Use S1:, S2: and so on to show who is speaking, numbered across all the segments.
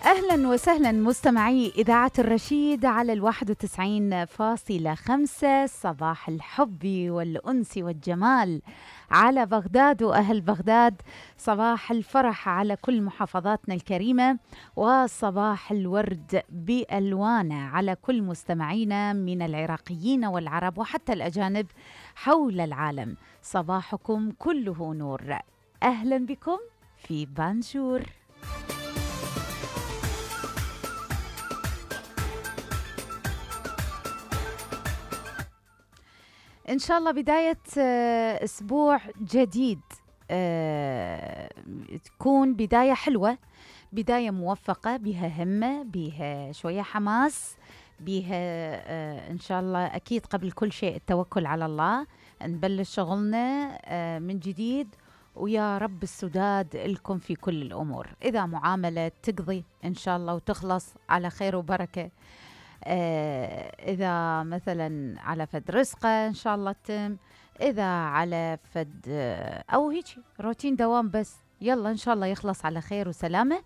S1: أهلا وسهلا مستمعي إذاعة الرشيد على 91.5. صباح الحب والأنس والجمال على بغداد وأهل بغداد، صباح الفرح على كل محافظاتنا الكريمة، وصباح الورد بألوانه على كل مستمعينا من العراقيين والعرب وحتى الأجانب حول العالم. صباحكم كله نور. أهلا بكم في بانجور. إن شاء الله بداية أسبوع جديد، تكون بداية حلوة، بداية موفقة، بها همة، بها شوية حماس، بها إن شاء الله أكيد قبل كل شيء التوكل على الله، نبلش شغلنا من جديد، ويا رب السداد لكم في كل الأمور. إذا معاملة تقضي إن شاء الله وتخلص على خير وبركة، إذا مثلا على فد رزقة إن شاء الله تتم، إذا على فد أو هيك روتين دوام، بس يلا إن شاء الله يخلص على خير وسلامة،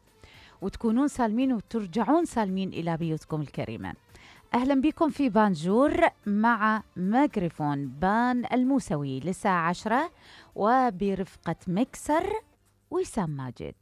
S1: وتكونون سالمين وترجعون سالمين إلى بيوتكم الكريمة. أهلا بكم في بانجور مع ميكروفون بان الموسوي للساعة 10، وبرفقة مكسر وسام ماجد.